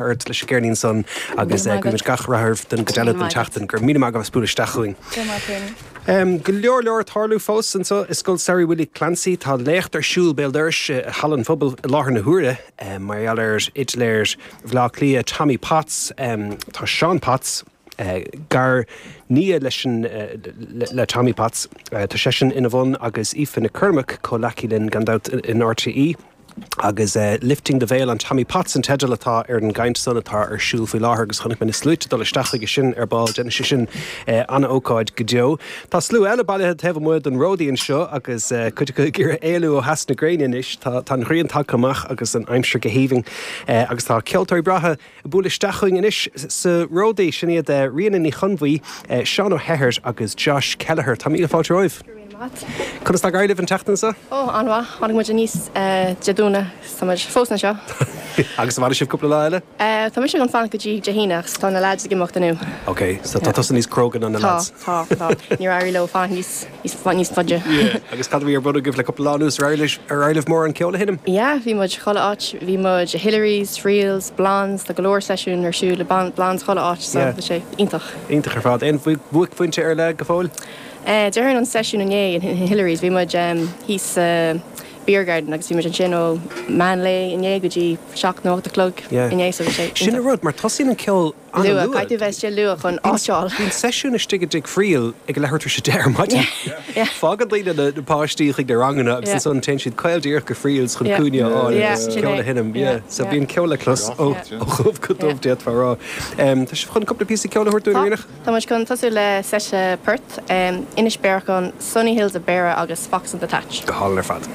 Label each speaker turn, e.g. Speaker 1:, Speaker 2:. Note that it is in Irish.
Speaker 1: Ort leis an gceirnín san agus guímid gach rath oraibh don gcuid eile den tseachtain. Go raibh míle maith agat as bualadh isteach chugainn.
Speaker 2: Go raibh maith agat.
Speaker 1: Go leor leor ag tarlú fós anseo i Scoil Samhraidh Willie Clancy. Tá léacht ar siúl béal dorais i Halla an Phobail i láthair na huaire mar gheall ar fhidléir Bhaile Átha Cliath Tommy Potts. Tá Seán Potts, gar nia leis an le Tommy Potts, tá seisean ina bhun agus Aoife Nic Cormaic, comhleacaí linn gan dabht in RTÉ. Agus Lifting the Veil on Tommy Potts an teideal atá ar an gcaint san atá ar siúl faoi láthair agus chonaic mé na sluaite dul isteach chuige sin ar ball. Déanfaidh sé sin an-ócáid go deo. Tá slua eile bailithe taobh amuigh den Ródaí anseo agus cuid acu ag iarraidh éalú ó theas na gréine anois. Tá an ghrian tagtha amach agus an aimsir go haoibhinn agus tá ceoltóirí breátha ag bualadh isteach chugainn anois sa Ródaí. Sin iad Ríona Ní Chonbhuí, Seán Ó hEithir agus Josh Kelleher. Tá míle fáilte romhaibh.
Speaker 2: Go raibh míle maith agat.
Speaker 1: Conas tá ag éirí libh an tseachtain seo?
Speaker 2: Ó, an-mhaith. Tháinig muid aníos Dé Domhnaigh is tá muid fós anseo.
Speaker 1: Agus an bhfanfaidh sibh cúpla lá eile?
Speaker 2: Tá mise chun fanacht go dtí Dé hAoine ach tá na lads ag imeacht inniu.
Speaker 1: Ok, so tá tusa níos cróga ná na lads.
Speaker 2: Tá, tá, tá. Níor éirigh leo fanacht níos. níos faide.
Speaker 1: Yeah. Agus cad a bhí ar bun agaibh le cúpla lá anuas? Ar éirigh libh mórán ceoil a sheinm?
Speaker 2: Yeah, bhí muid chuile áit. Bhí muid i Hillary's, Friels, Blondes, tá go leor seisiún ar siúl i Blondes chuile áit so
Speaker 1: Yeah.
Speaker 2: bhí sé iontach.
Speaker 1: Iontach ar fad. Aon bhuaicphointe ar leith go fóill?
Speaker 2: Eh, déarfainn an seisiún inné in Hillary's, bhí muid thíos sa Beer Garden agus bhí muid ansin ó meán lae inné go dtí 7 nó 8 a chlog
Speaker 1: Yeah.
Speaker 2: inné so bhí sé
Speaker 1: Sin an
Speaker 2: iontach.
Speaker 1: rud, mar tosaíonn an ceol
Speaker 2: Luath, caithfidh tú bheith istigh luath chun áit a fháil.
Speaker 1: Bíonn seisiún istigh i dTigh Friel ag a leathuair tar éis a 10 ar maidin. Fágann daoine na páistí chuig na ranganna agus ansan téann siad caol díreach go Friels chun cúinne a fháil agus ceol a sheinm. So bíonn ceol le clos ó dhubh go dubh d'fhéadfá a rá. Tá sibh chun cúpla píosa ceoil a thabhairt dúinn, a Ríonach?
Speaker 2: Tá muid chun tosú le seite port, Inis Bearachain, Sunny Hills of Beara agus Fox in the Thatch.
Speaker 1: Go hálainn ar fad.